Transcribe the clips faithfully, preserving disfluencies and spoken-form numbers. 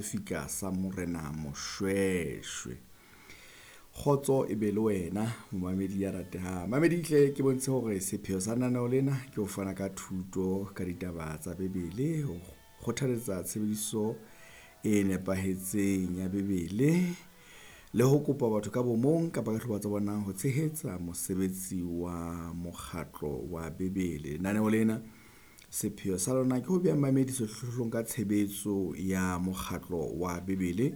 Sefika sa Morena Moshweshwe. Kgotso e be le wena momamedi ya ratehang. Mamedi hle ke bontshe hore sepheo sa lenaneo lena ke ho fana ka thuto ka ditaba tsa Bebele, ho kgothaletsa tshebediso e nepahetseng ya Bebele le ho kopa batho ka bomong kapa ka dihlopha tsa bona ho tshehetsa mosebetsi wa mokgatlo wa Bebele. Lenaneo lena sepheo sa lona ke ho beha mamedi sehlohlolong ka tshebetso ya mokgatlo wa Bebele,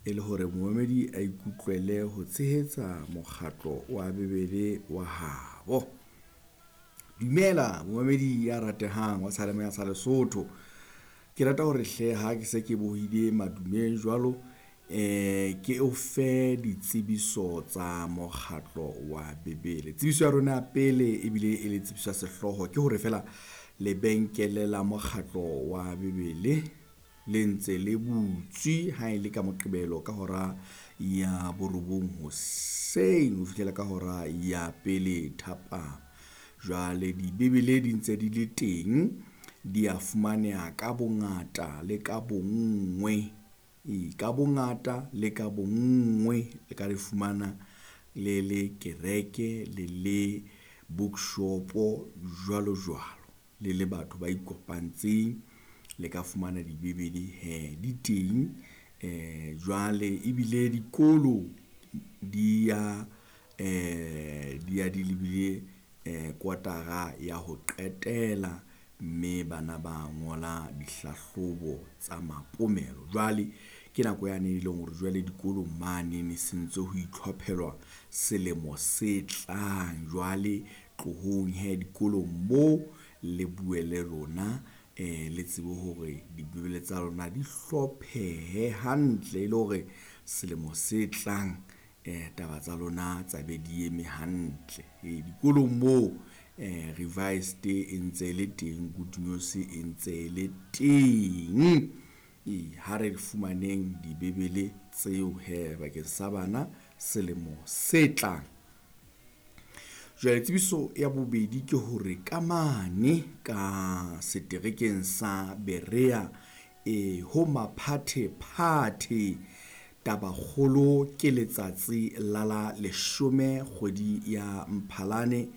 e le hore momamedi a ikutlwele ho tshehetsa mokgatlo wa Bebele wa habo. Dumela momamedi ya ratehang wa seyalemoya sa Lesotho. Ke rata hore hle ha ke se ke bohile madume jwalo, eh ke o fe ditsebiso tsa mokgatlo wa Bebele. Tsebiso ya rona ya pele ebile e le tsebiso ya sehlooho ke hore feela lebenkele la mokgatlo wa Bebele le ntse le butswe ha e le ka Moqebelo ka hora ya borobong hoseng ho fihlela ka hora ya pele thapama. Jwale dibebele di ntse di le teng, di a fumaneha ka bongata le ka bonngwe. Ee, ka bongata le ka bonngwe le ka di fumana le le kereke, le le bookshop-o jwalo jwalo. Le le batho ba ikopantseng le ka fumana dibebele hee di teng. Jwale ebile dikolo di ya di ya di lebile kotara ya ho qetela, mme bana ba ngola dihlahlobo tsa mapomelo. Jwale ke nako yane e leng hore jwale dikolong mane ne sentse ho itlhophelwa selemo se tlang. Jwale tlohong hee dikolong moo le bue le rona le tsebe hore dibebele tsa lona di hlophehe hantle e le hore selemo se tlang taba tsa lona tsa be di eme hantle. E dikolong moo revised e ntse e le teng, Good News e ntse e le teng. E ha re fumaneng dibebele tseo hee bakeng sa bana selemo se tlang. Jwale tsebiso ya bobedi ke hore ka mane ka seterekeng sa Berea e ho maphathephathe. Tabakgolo ke letsatsi la la leshome kgwedi ya Mphalane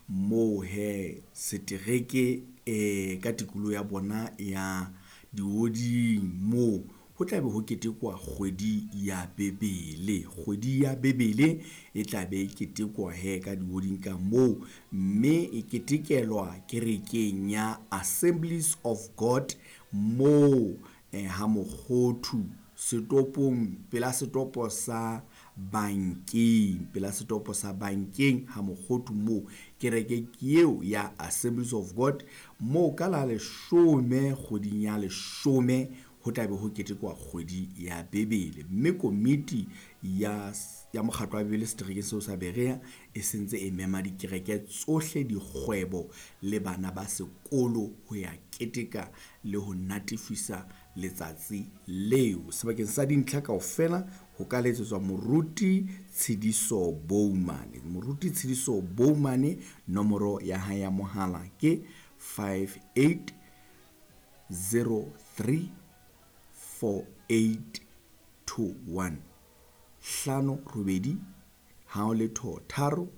moo hee setereke e ka tikoloho ya bona ya dihoding moo ho tla be ho ketekwa kgwedi ya Bebele. Kgwedi ya Bebele e tla be e ketekwa hee ka dihoding ka moo, mme e ketekelwa kerekeng ya Assemblies of God moo ha Mokgothu setopong pela setopo sa bankeng, pela setopo sa bankeng ha Mokgothu moo. Kereke ke eo ya Assemblies of God moo ka la leshome kgweding ya leshome ho tla be ho ketekwa kgwedi ya Bebele, mme komiti ya ya mokgatlo wa Bebele seterekeng seo sa Berea e sentse e mema dikereke tsohle, dikgwebo le bana ba sekolo ho ya keteka le ho natefisa letsatsi leo. Sebakeng sa dintlha kaofela ho ka letsetswa Moruti Tshidiso Boumane. Moruti Tshidiso Boumane nomoro ya hae ya mohala ke five eight zero three four eight two one. Hlano robedi ha o letho tharo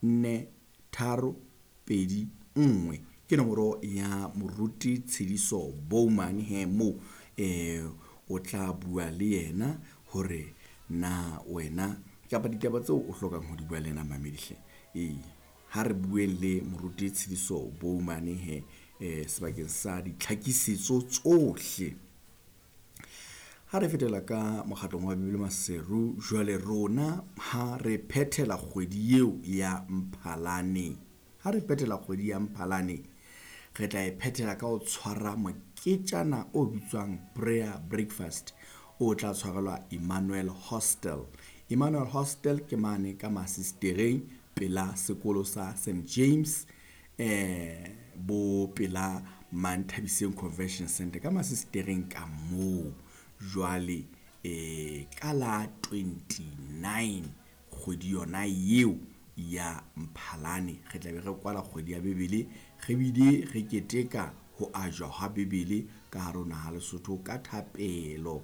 nne tharo pedi nngwe ke nomoro ya Moruti Tshidiso Boumane he moo o tla bua le yena hore na wena kapa ditaba tseo o hlokang ho di bua le yena mamedi hle. E ha re bueng le Moruti Tshidiso Boumane he sebakeng sa ditlhakisetso tsohle. Ha re fetela ka mokgatlong wa Bebele Maseru, jwale rona ha re phethela kgwedi eo ya Mphalane, ha re phethela kgwedi ya Mphalane re tla e phethela ka ho tshwara moketjana o bitswang prayer breakfast o tla tshwarelwa Emmanuel Hostel. Emmanuel Hostel ke mane ka Masistereng pela sekolo sa Saint James bo pela Manthabiseng Convention Center ka Masistereng ka moo. Jwale ka la twenty-nine kgwedi yona eo ya Mphalane re tla be re kwala kgwedi ya Bebele, re bile re keteka ho ajwa ha Bebele ka hare ho naha Lesotho ka thapelo.